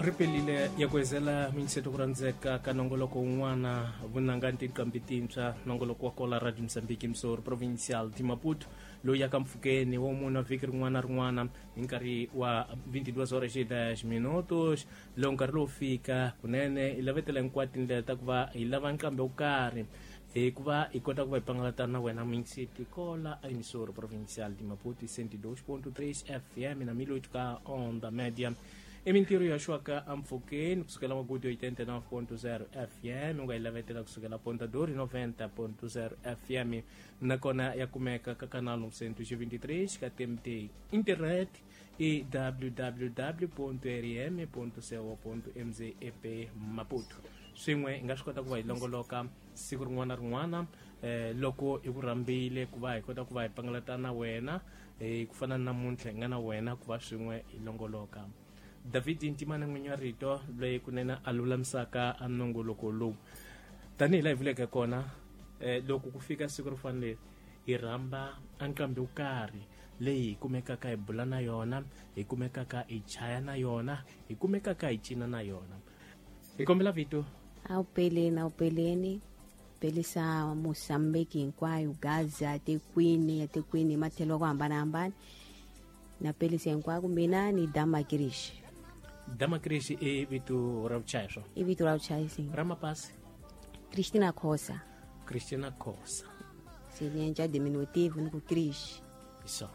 Ripelile ya ku hezela minseto ku rhandzeka ka nongoloko wun'wana vunanga ni tinqambi tintshwa, nongoloko wa kola Radio Mozambique Msori Provincial de Maputo, loyi ya ka mpfhukeni wo mune vhiki rin'wana na rin'wana hi nkarhi wa 22 horas e 10 minutos. Loko nkarhi lowu fika kunene hi lavetela hinkwato tindlela ta ku va hi lava nqambi wo karhi hi ku va hi kota ku va hi pangalata na wena minseti kola a emissora provincial de Maputo 102.3 FM na 1008 ka onda média. I mintirho ya xwaka empfhukeni kusukela Magudu 89.0 FM, u nga yi lavetela kusukela Ponta Dori 90.0 FM, nakona ya kumeka ka canal 923 ka TMT. Internet i www.rm.co.mz ep Maputo. Swin'we hi nga swi kota ku va hi longoloka siku rin'wana na rin'wana loko hi ku rhambile ku va hi kota ku va hi pangalata na wena, ku fana na namuntlha hi nga na wena ku va swin'we hi longoloka. David Ntimana n'winyi wa rito loyi kunene a lulamisaka a nongoloko lowu, tanihi laha hi vuleke kona, loko ku fika siku ro fana leri hi rhamba a nqambi wo karhi leyi hi kumekaka hi bula na yona, hi kumekaka hi chaya na yona, hi kumekaka hi cina na yona. Hi kombela vito. Awupeleni, awupeleni pelisa Mozambique hinkwayo, Gaza, tekwini ya tekwini hi matlhelo ku hambanahambana, na pelisa hinkwako. Mina ni Dama Krish. Dama Krish i vito ra vuchayi swo? I vito ra vuchayisi. Ra mapasi? Christina Khosa. Christina Khosa. Se ni endla diminutive ni ku Krish. Hi swona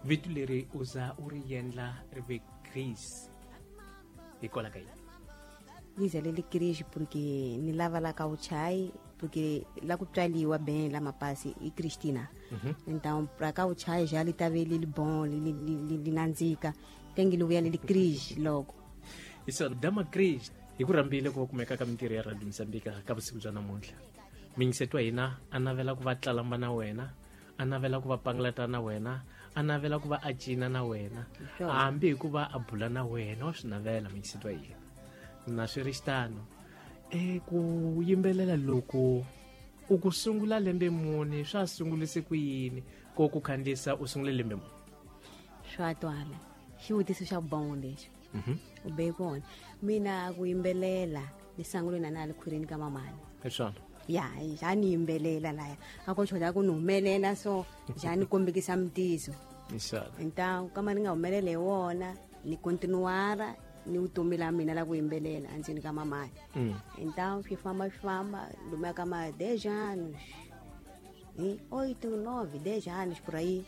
vito leri u za u ri endla ri ve Chris hikwalaho ka yini? Ni zalele Krish porque ni lava la ka vuchayi, porque la ku tswaliwa ben la mapasi i Christina. Então pra ka vuchayi já li ta ve li li bon, li nandzika, tenge li vuya li li Krish loko. Hi swona, Dama Chris, hi ku rhambile ku va kumeka ka mintirho ya Radio Mozambique ka vusiku bya namuntlha. Mingiseti wa hina a navela ku va tlalamba na wena, a navela ku va pangalata na wena, a navela ku va a cina na wena, hambi hi ku va a bula na wena wa swi navela mingiseti wa hina. Na swi ri xitano, ku yimbelela loko u ku sungula lembe muni, swa sungulise ku yini ko ku khandziyisa u sungule lembe muni? Swa twala xivutiso xa bon lexi u be kona. Mina ku yimbelela ni sangule na na le khwirini ka mamani. Hi swona. Ya, ja ni yimbelela laya a ko choda ku ni humelela, so ja ni kombekisa mutiso. Hi swona. Então kama ni nga humelela hi wona, ni continuara ni vutomi la mina la ku yimbelela endzeni ka mamani. Então swi famba swi famba lomuya ka ma 10 anos, hi 8, 9, 10 anos por aí,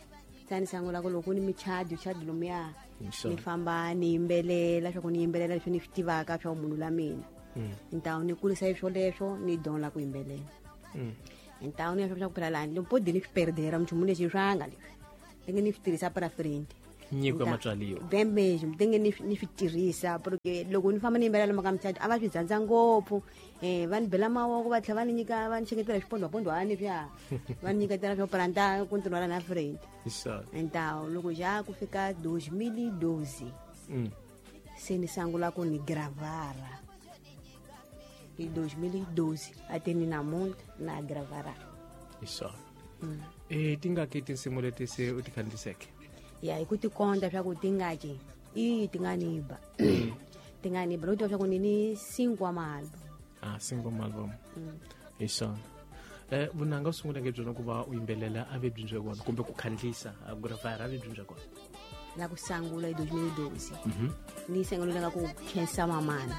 se ni sangula ku loko ni michadi chadi lomuya, ni famba ni yimbelela swa ku ni yimbelela leswi ni swi tivaka swa munhu la mina. Então ni kulisa hi swoleswo ni dyondza ku yimbelela. Então ni ya swa ku phela lani loko ni swi perdera nchumu lexi swanga leswi ndenge ni swi tirhisa para frente. Nyiko ya matswaliwa. Bem mesmo, ndenge ni swi tirhisa, porque loko ni famba ni yimbelela lomu ka michadi a va swi dzandza ngopfu, va ni bela mavoko, va tlhela va ni nyika, va ni xeketela swipondwapondwani swa va ni nyiketela swo planta continuar na frente. Hi swona. Então loko já ku fika 2012, se ni sangula ku ni gravara hi 2012 ate ni namuntlha na gravara. Hi swona. Tingaki tinsimu leti se u ti khandziyiseke? Ya, hi ku tikonta swa ku tingaki i ti nga ni ba, ti nga ni ba loko tiva swa ku ni ni cinco wa maalbum. Ah, cinco album. Hi swona. Vunanga u sunguleke byona ku va u yimbelela a ve byi bya kona, kumbe ku khandziyisa a gravara a ve byi bya kona? La ku sangula hi 2012 ni sangulela ka ku khensa mamana.